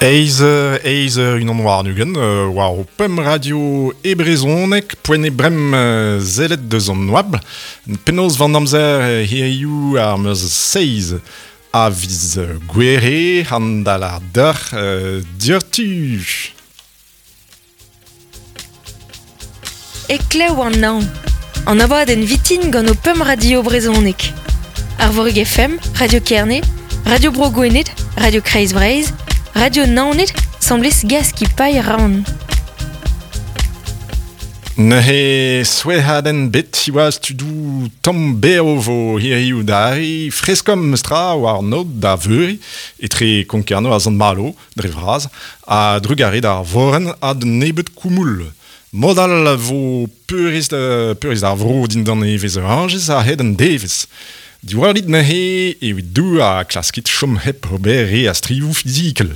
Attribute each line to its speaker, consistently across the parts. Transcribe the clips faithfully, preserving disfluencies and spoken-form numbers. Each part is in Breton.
Speaker 1: Eiz, eiz unan war nugen, war o pem radio e brezhoneg, poent e brem zelet deus an oabl, penaos van amzer hiziv ar meuz seiz a viz gwere, an dal ar deur diurtu.
Speaker 2: E klev an naon, an abadenn vitin gant o pem radio brezhoneg. Arvorig F M, Radio Kerne, Radio Bro Gwened, Radio Kreiz Breizh, Radio Naoned, semblez gaz ki pailh raon.
Speaker 1: Neuze souezhadenn bet siwazh tudou tamm berv vo hiziv d'arri freskom stra war nod da veuri etre Konkerno a Sant-Malo dre vras a drugare d'ar vorenn ha d'un nebeud koumoul. Modal vo peurrest peurrest ar vro dindan evezh orañjez a-hed an devezh. Diwallit neuze evit dou a klaskit chom hep ober re a strivoù fizikel.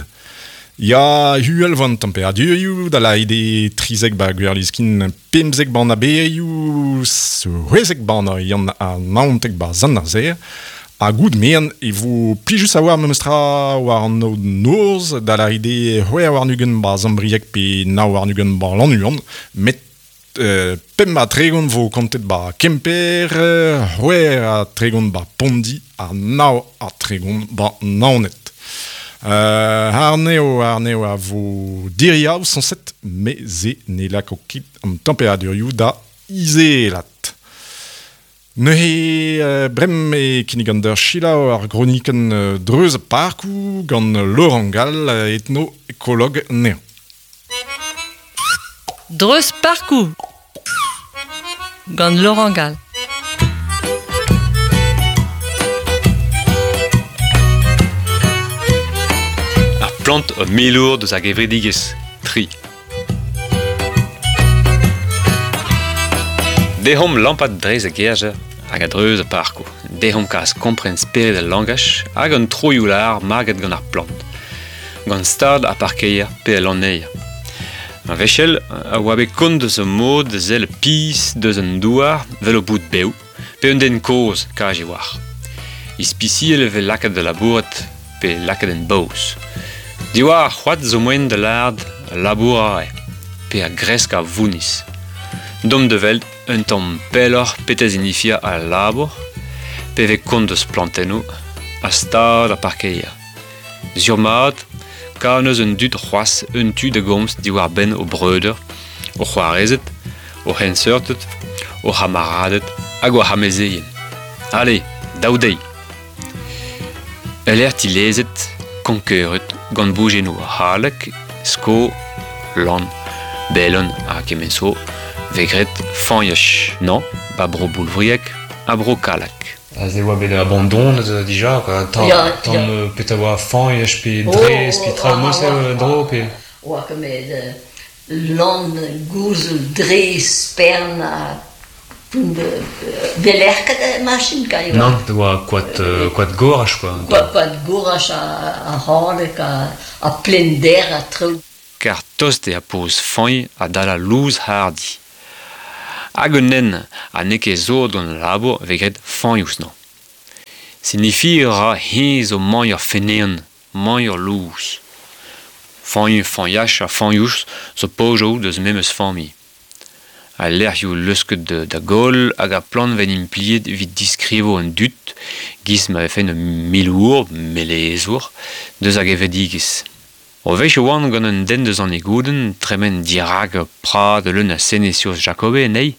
Speaker 1: Ya huel van temperadurioù da laide trizek ba gwerliskin pemzek ban aberioù c'hwezek ban ar yann a naontek ba zan ar zer. Ha goud mean e vo plijus a war memestra war an noz da laide c'hwec'h warn-ugent ba Zambrieg pe nav warn-ugent ba Lannuon, met Euh, pemp ha tregont vo kontet ba Kemper, c'hwec'h ha tregont ba Pondi ha nav ha tregont ba Naoned. Euh, arneo, arneo a vo diriaou sañset, met se ne lako ket an temperadurioù da izelat. Neuze euh, brem e kinnig an d'ur selaou ar gronikenn euh, dreuz parkoù gant Laurent Gall, etno-ekolog anezhañ.
Speaker 3: Dreuz parkoù gant Laurent Gall.
Speaker 4: Ar plant o milour deus ar gevredigezh, tri. Dehomp lampat drez a gerjer hag a dreuz a parkoù. Dehomp kas kompren spered al langach hag an troioù lar maget gant ar plant. Gant stad ar parkeier pe al lanneier. An vechel a oa bet kont deus ur mod da sell piz deus an douar vel o bout bev, pe un den kozh kaj e oar. Ispisiel e vez lakaet da labourat pe lakaet en baoz. Diwar ar c'hoad zo moen da lard labour a rae, pe a gresk a vouniz. Dom de veld un tamm pelloc'h petez inifia a labour, pe vez kont deus plantennoù a stad ar parkeier. Sur mat, ka neus un dud c'hoazh un tu da gomz diwar benn o breudeur, o c'hoarezed, o c'henseurted, o c'hamaraded hag o c'hamezeien. Allez, daou deiz. Ul tilezet, konkeuret, gant bougennoù halek, sko, lan, belon ha kement zo, vegret fañch, non, ba bro boulvriek ha bro kalak.
Speaker 5: A ze oa bet abandon dija, quoi. Tamm,
Speaker 6: Ya,
Speaker 5: tamm
Speaker 6: ya.
Speaker 5: pet a oa fañch pe
Speaker 6: Oh,
Speaker 5: drez pe tra
Speaker 6: ah,
Speaker 5: mose
Speaker 6: ah,
Speaker 5: dro pe...
Speaker 6: Oa ket lan, gouzel, drez, spern ha belerket machin ka eo.
Speaker 5: Non, oa koad, koad gorach, quoi.
Speaker 6: Koad, koad gorach a, a halek, a, a plender a traoù.
Speaker 4: Kar tost e a poz fañch a dal a louz hardi. Hag un nen a n'eo ket zo gant labour vegret fañouz nañ. Signifi ra he zo mañ ur fenean, mañ ur louz. Fañch, fañach ha fañouz zo pojoù deus memes familh. A lec'hioù leusket de, da gol hag a plant ven impliet evit diskrivo an dud, giz ma vefen un milour, melezour, deus hag evedigez. O vech oan gant un den deus an egouden, tremen dirag prad leun a senesios Jacobe, nei,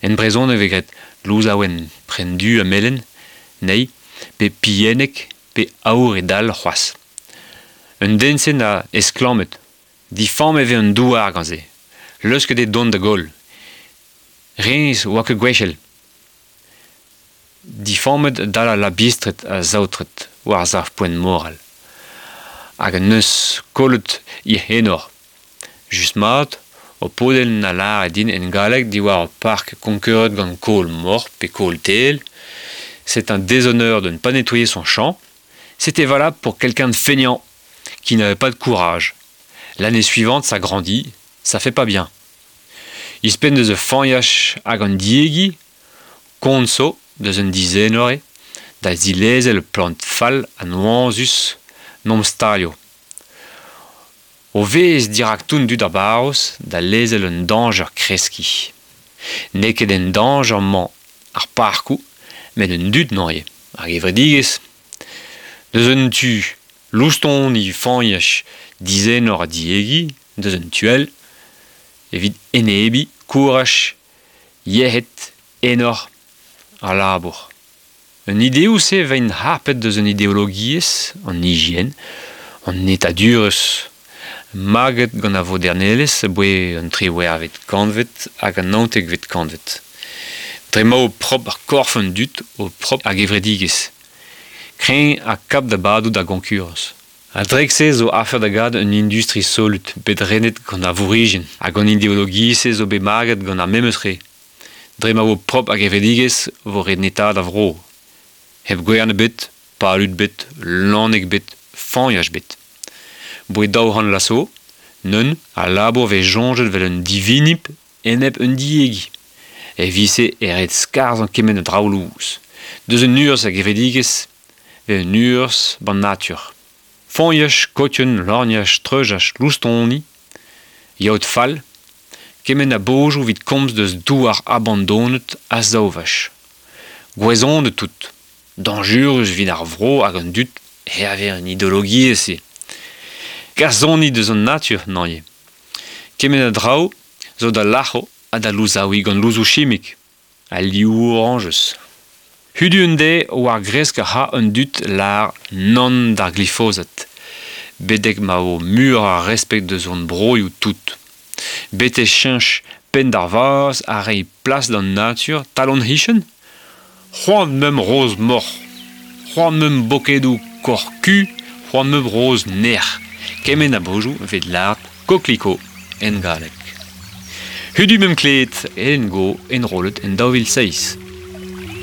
Speaker 4: en brezon e vegret louzaouen prendu a melen, nei, pe piennek, pe aour e dal c'hoazh. Un den sen a esklamet, difamm e vez un douar gant se, leusket e don da gol. Rez oa ket gwechel. Difammet dal a labistret a zaotret war zav poent moral. Hag an neus kollet i henor. Just mat, o podel na lar e din en galleg diwar ur park konkeuret gant kol mor pe kol tel. C'est un déshonneur de ne pas nettoyer son champ. C'était valable pour quelqu'un de feignant, qui n'avait pas de courage. L'année suivante, ça grandit, ça fait pas bien. Il se peine deus ur fañach hag an diegi, konso deus un dizenore, da zilezel plant fall an oañzus nom stalio. O vez dirak toun dud ar barroz da lezel un danger kreski. N'eo ket un danger mañ ar parkoù, met un dud noie, ar gevredigezh. Deus un tu, loustoni fañch dizenor a diegi, deus un tuel, evit enebi, kouraj, yec'hed, enor, ar labour. Un ideoù se vein harpet deus un ideologiezh, an hygiène, an netadurezh, maget gant a vodernelezh boe an triwec'hvet kantved hag an naontekvet kantved. Dre ma o prop ar korf an dud o prop ar gevredigezh. Kreñv ha kap da badoù da gonkurans. A drek-se zo afer da gad un industri solut, bet renet gant ar vourigin, hag an ideologiezh zo bet maget gant ar memes re. Dre ma vo prop ar gevredigezh vo ret netaat a vro. Hep gwern bet, palud bet, lanneg bet, fañch bet. Boe daou c'hant laso, neun a labour vez soñjet vel un divinip enep un diegi. E vise e ret skarzh an kement a draoù louz. Deus un urzh a gevredigezh, ve un urzh ban natur. Fañch, kotien, lorgnach, treujach, loustoni, yaot fall, kement a bojoù vit komz deus douar abandonet a saovach. Gouezon de tout. Danjurus vit ar vro hag an dud hervez an ideologiezh se. Kasoni deus an natur, naie. Kement a draoù zo da lac'ho ha da louzaouiñ gant louzoù chimik, a liv orañjez. Hudu un deiz war gresk a ra un dud lar nann d'ar glifosat. Bedek ma vo mur ar respect deus hon broioù tout. Bete cheñch penn d'ar vaz a reiñ plas d'an natur talon hichen. C'hoant meum roz moc'h. C'hoant meum bokedoù korku, c'hoant meum roz nec'h. Kement a bojoù vet lart kokliko en galleg. Hudu meum kleet en go enrollet en daou vil seizh.